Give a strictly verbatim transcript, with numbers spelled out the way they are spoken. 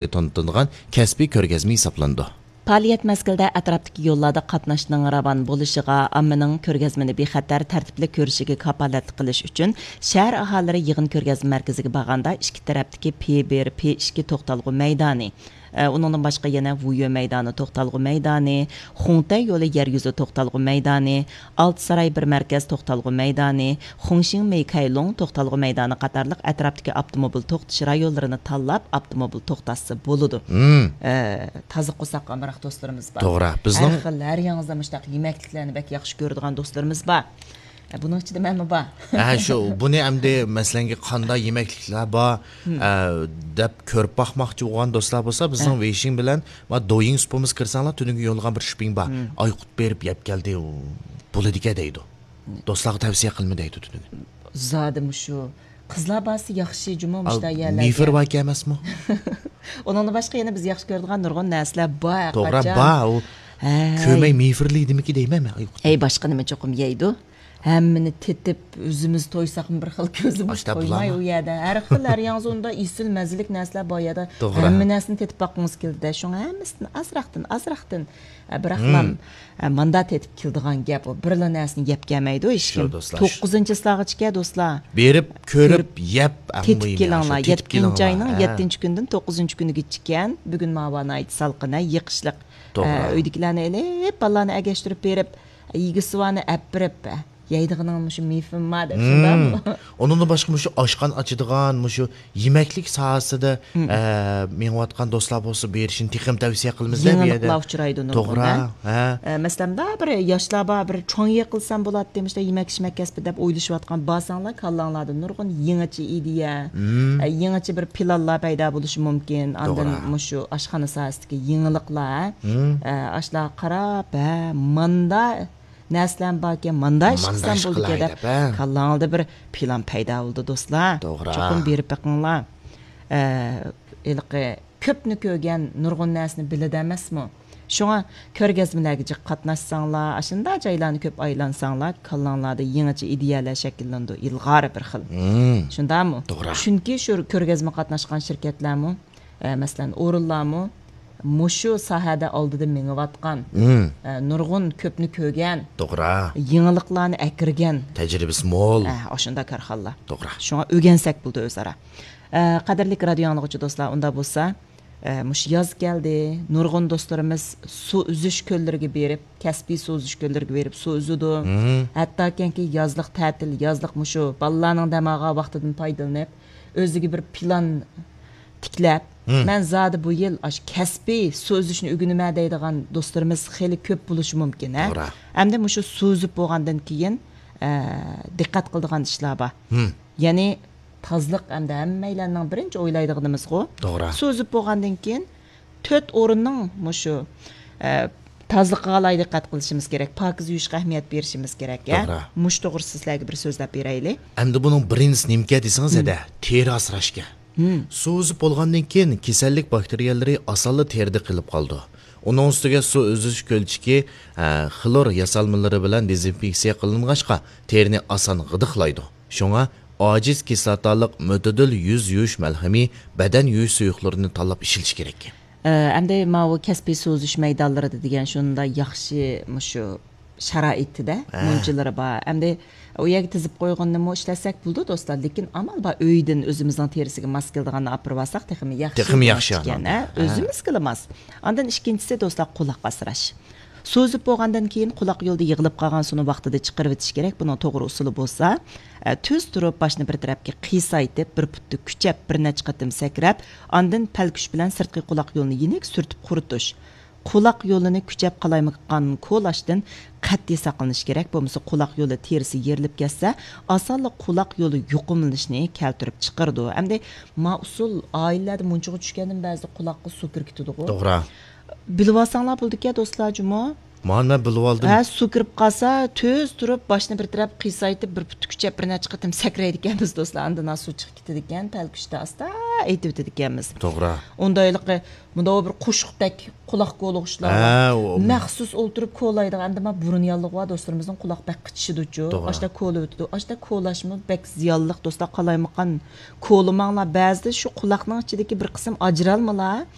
تونۇتىدىغان كەسپىي كۆرگەزمە ھېسابلىنىدۇ. پائالىيەت مەزگىلىدە ئەتراپتىكى يوللاردا قاتناشنىڭ راۋان بولۇشىغا، ئاممىنىڭ كۆرگەزمىنى بىخەتەر، تەرتىپلىك كۆرۈشىگە كاپالەتلىك قىلىش ئۈچۈن، شەھەر ئاھالىلىرى يىغىن كۆرگەزمە مەركىزىگە بارغاندا، ئىككى تەرەپتىكى پى بىر، پى ئىككى توختالغۇ مەيدانى، ئە، ئۇنىڭدىن باشقا يەنە ۋۇيۈ مەيدانى، توختالغۇ مەيدانى، خۇڭتەي يولى يەر يۈزى توختالغۇ مەيدانى، ئالتە ساراي بىر مەركەز توختالغۇ مەيدانى، خۇڭشىڭ مېيكايلۇڭ توختالغۇ مەيدانى قاتارلىق ئەتراپتىكى ئاپتوموبىل توختىتىش رايونلىرىنى تاللاپ، ئاپتوموبىل توختاتسا بولىدۇ. مم. ئە، تازا قورساق ئامراق دوستلىرىمىز بار. توغرا. بىزنىڭ ھەر خىل، ھەر ياڭزا مۇشتاق يېمەكلىكلەرنى بەك ياخشى كۆرىدىغان دوستلىرىمىز بار. ئە، بۇنىڭ ئىچىدە مەنمۇ بار. ھە، شۇ، بۇنى ئەمدى مەسىلەنگە قاندا يېمەكلىكلەر بار، مم. ئە، دەپ كۆرۈپ باقماقچى بولغان دوستلار بولسا، بىزنىڭ ھە. ۋېيشىڭ بىلەن ما دويىڭ سۇپىمىز كىرسەڭلار، تۈنۈگۈن يوللىغان بىر شۈپىڭ بار. مم. ئايقۇت بېرىپ يەپ كەلدى، ئۇ بولىدىكەن دەيدۇ. دوستلارغا تەۋسىيە قىلما دەيدۇ تۈنۈگۈن. زادى مۇشۇ قىزلار بارسا ياخشى جۇمۇ مۇشۇنداق يەرلەرگە. مىفىر باركەن ئەمەسمۇ؟ ئۇنىڭدىن باشقا يەنە بىز ياخشى كۆرىدىغان نۇرغۇن نەرسىلەر بار. توغرا، قاچان. بار. ئۇ ھەي. كۆمەي مىفىرلىيدىمىكى دەيمەن مەن. ئاي، ئەي، باشقا نېمە چوقۇم يەيدۇ. ھەممىنى تېتىپ، ئۆزىمىز تويساقمۇ بىر خىل كۆزىمىز ئاشتا تويماي بۇلارمۇ؟ ئۇ يەردە. ھەر خىل، ھەر ياڭزۇندا ئېسىل مەززىلىك نەرسىلەر بار يەردە. توغرا. ھەممە نەرسىنى تېتىپ باققۇڭىز كېلىدۇ-دە. شۇڭا ھەممىسىدىن ئازراقتىن، ئازراقتىن. ئە، بىراقلام، مم. ئە، ماندا تېتىپ كېلىدىغان گەپ ئۇ. بىرلا نەرسىنى يەپ كەلمەيدۇ ھېچكىم. شۇ، دوستلار. توققۇزىنچى چىسلاغىچىكە، دوستلار. بېرىپ، كۆرۈپ، كۆرۈپ، يەپ، ئەڭ تېتىپ مۇھىمى، كېلىڭلار. شۇ، تېتىپ يەتتىنچى كېلىڭلار. ئاينىڭ ھە. يەتتىنچى كۈنىدىن توققۇزىنچى كۈنىگىچىكەن. بۈگۈن ماۋۇ ناھايىتى سالقىن، ھە، يېقىشلىق. توغرا. ئە، ئۆيدىكىلەرنى ئېلىپ، بالىلارنى ئەگەشتۈرۈپ بېرىپ، يېگۈسىۋانى ئەپ بېرىپ، يەيدىغىنىڭ مۇشۇ مېفىم بار دەپ، مم. شۇنداقمۇ؟ ئۇنىڭدىن باشقا مۇشۇ ئاشخانا ئاچىدىغان، مۇشۇ يېمەكلىك ساھەسىدە، مم. ئە، مېڭىۋاتقان دوستلار بولسا بېرىشىنى تېخىمۇ تەۋسىيە قىلىمىز دە بۇ يېرىدە. يېڭىلىقلار ئۇچرايدۇ نۇرغۇن، توغرا، ھە؟ ھە. ئە، مەسىلەن، مۇنداق بىر ياشلار بار، بىر چوڭ يىغىلسام بولاتتى، مۇشۇنداق يېمەك-ئىچمەك كەسپى دەپ ئويلىشىۋاتقان بارساڭلار، كاللاڭلاردا نۇرغۇن يېڭىچە ئىدىيە، مم. ئە، يېڭىچە بىر پىلانلار پەيدا بولۇشى مۇمكىن. ئاندىن توغرا. مۇشۇ ئاشخانا ساھەسىدىكى يېڭىلىقلار، مم. ئە، ئاشۇلارغا قاراپ، ھە، ماندا نەرسىلەرمۇ باركەن، ماندا ئىش ماندا قىلسام ئىش بولىدىكەن قىلاي دەپ، دەپ، ھە. كاللاڭدا بىر پىلان پەيدا بولىدۇ، دوستلار. توغرا. چوقۇم بېرىپ بېقىڭلار. ئە، ھېلىقى كۆپنى كۆرگەن، نۇرغۇن نەرسىنى بىلىدۇ ئەمەسمۇ؟ شۇڭا كۆرگەزمىلەرگە جىق قاتناشساڭلار، ئاشۇنداق جايلارنى كۆپ ئايلانساڭلار، كاللاڭلاردا يېڭىچە ئىدىيەلەر شەكىللىنىدۇ، ئىلغار بىر خىل. مم. شۇنداقمۇ؟ توغرا. چۈنكى شۇ كۆرگەزمە قاتناشقان شىركەتلەرمۇ، ئە، مەسىلەن، ئورۇنلارمۇ مۇشۇ ساھەدە ئالدىدا مېڭىۋاتقان، مم. ئە، نۇرغۇن كۆپنى كۆرگەن، توغرا. يېڭىلىقلارنى ئەكىرگەن، تەجرىبىسى مول. ئە، ئاشۇنداق كارخانىلار. توغرا. شۇڭا ئۆگەنسەك بولىدۇ ئۆزئارا. ئە، قەدىرلىك رادىيو ئاڭلىغۇچى دوستلار، ئۇنداق بولسا، ئە، مۇشۇ ياز كەلدى، نۇرغۇن دوستلىرىمىز سۇ ئۈزۈش كۆللىرىگە بېرىپ، كەسپىي سۇ ئۈزۈش كۆللىرىگە بېرىپ سۇ ئۈزىدۇ. مم. ھەتتاكىنكى يازلىق تەتىل، يازلىق مۇشۇ بالىلارنىڭ دەم ئالغان ۋاقتىدىن پايدىلىنىپ، ئۆزىگە بىر پىلان تىكلەپ، مم. مەن زادى بۇ يىل ئاشۇ كەسپىي سۇ ئۈزۈشنى ئۆگىنىمەن دەيدىغان دوستلىرىمىز خېلى كۆپ بولۇشى مۇمكىن، ھە؟ توغرا. ئەمدى مۇشۇ سۇ ئۈزۈپ بولغاندىن كېيىن، ئە، دىققەت قىلىدىغان ئىشلار بار. مم. يەنى تازىلىق ئەمدى ھەممەيلەننىڭ بىرىنچى ئويلايدىغىنىمىزغۇ. توغرا. سۇ ئۈزۈپ بولغاندىن كېيىن تۆت ئورۇننىڭ مۇشۇ، ئە، تازىلىقىغا ئالاھىدە دىققەت قىلىشىمىز كېرەك، پاكىز يۇيۇشقا ئەھمىيەت بېرىشىمىز كېرەك، يا؟ توغرا. مۇشۇ توغرىسىدا سىلەرگە بىر سۆزلەپ بېرەيلى. ئەمدى بۇنىڭ بىرىنچىسى نېمىكەن دېسىڭىز، مم. ھەدە، تېرە ئاسراشكەن. مم. سۇ ئۈزۈپ بولغاندىن كېيىن كېسەللىك باكتېرىيەلىرى ئاسانلا تېرىدە قېلىپ قالىدۇ. ئۇنىڭ ئۈستىگە سۇ ئۈزۈش كۆلچىكى، ئە، خلور ياسالمىلىرى بىلەن دېزىنفېكسىيە قىلىنغاچقا، تېرىنى ئاسان غىدىقلايدۇ. شۇڭا ئاجىز كىسلاتالىق مۆتىدىل يۈز يۇيۇش مەلھىمى، بەدەن يۇيۇش سۇيۇقلىرىنى تاللاپ ئىشلىتىش كېرەك. ئە، ئەمدى ماۋۇ كەسپىي سۇ ئۈزۈش مەيدانلىرىدا دېگەن شۇنداق ياخشى مۇشۇ شارائىتىدە ھە. مۇنچىلىرى بار. ئەمدى ئۇ يەرگە تىزىپ قويغىنىمۇ ئىشلەتسەك بولىدۇ، دوستلار. لېكىن ئامال بار، ئۆيدىن ئۆزىمىزنىڭ تېرىسىگە ماس كېلىدىغاننى ئاپىرىۋالساق تېخىمۇ ياخشى. تېخىمۇ ياخشى ئىكەن، ئاندىن. ھە؟ ھە. ئۆزىمىزگىلا ماس. ئاندىن ئىككىنچىسى، دوستلار، قۇلاق ئاسراش. سۇ ئۈزۈپ بولغاندىن كېيىن قۇلاق يولىدا يىغىلىپ قالغان سۇنى ۋاقتىدا چىقىرىۋېتىش كېرەك. بۇنىڭ توغرا ئۇسۇلى بولسا، ئە، تۈز تۇرۇپ، باشنى بىر تەرەپكە قىيسايتىپ، بىر پۇتتا كۈچەپ، بىر نەچچە قېتىم سەكرەپ، ئاندىن پەلكۈچ بىلەن سىرتقى قۇلاق يولىنى يېنىك سۈرتۈپ قۇرۇتۇش. قۇلاق يولىنى كۈچەپ قالايمىقان كولاشتىن قەتئىي ساقلىنىش كېرەك، بولمىسا قۇلاق يولى تېرىسى يېرىلىپ كەتسە، ئاسانلا قۇلاق يولى يۇقۇملىنىشنى كەلتۈرۈپ چىقىرىدۇ. ئەمدى ما ئۇسۇل ئائىلىلەردە مۇنچىغا چۈشكەندىن بەزىدە قۇلاققا سۇ كىرىپ كېتىدىغۇ. توغرا. بىلىۋالساڭلار بولىدىكەن، دوستلار، جۇمۇ. مانا مەن بىلىۋالدىم. ھە، سۇ كىرىپ قالسا، تۈز تۇرۇپ، باشنى بىر تەرەپ قىيسايتىپ، بىر پۇت كۈچەپ، بىر نەچچە قېتىم سەكرەيدىكەنمىز، دوستلار. ئاندىن ھا سۇ چىقىپ كېتىدىكەن، پەلكۈشتە ئاستا ئېيتىۋېتىدىكەنمىز. توغرا. ئۇنداق ھېلىقى، مۇنداق بىر قوشۇقتەك قۇلاق كولىغۇچلار بار. ھە، ئۇ- مەخسۇس ئولتۇرۇپ كولايدىغان، ئەمدى ما بۇرۇن ياللۇغى بار دوستلىرىمىزنىڭ قۇلاق بەك قىچىشىدۇچۇ. توغرا. ئاشتا كولاۋېتىدۇ. ئاشتا كولاشمۇ بەك زىيانلىق، دوستلار. قالايمىقان كولىماڭلار. بەزىدە شۇ قۇلاقنىڭ ئىچىدىكى بىر قىسىم ئاجرالمىلار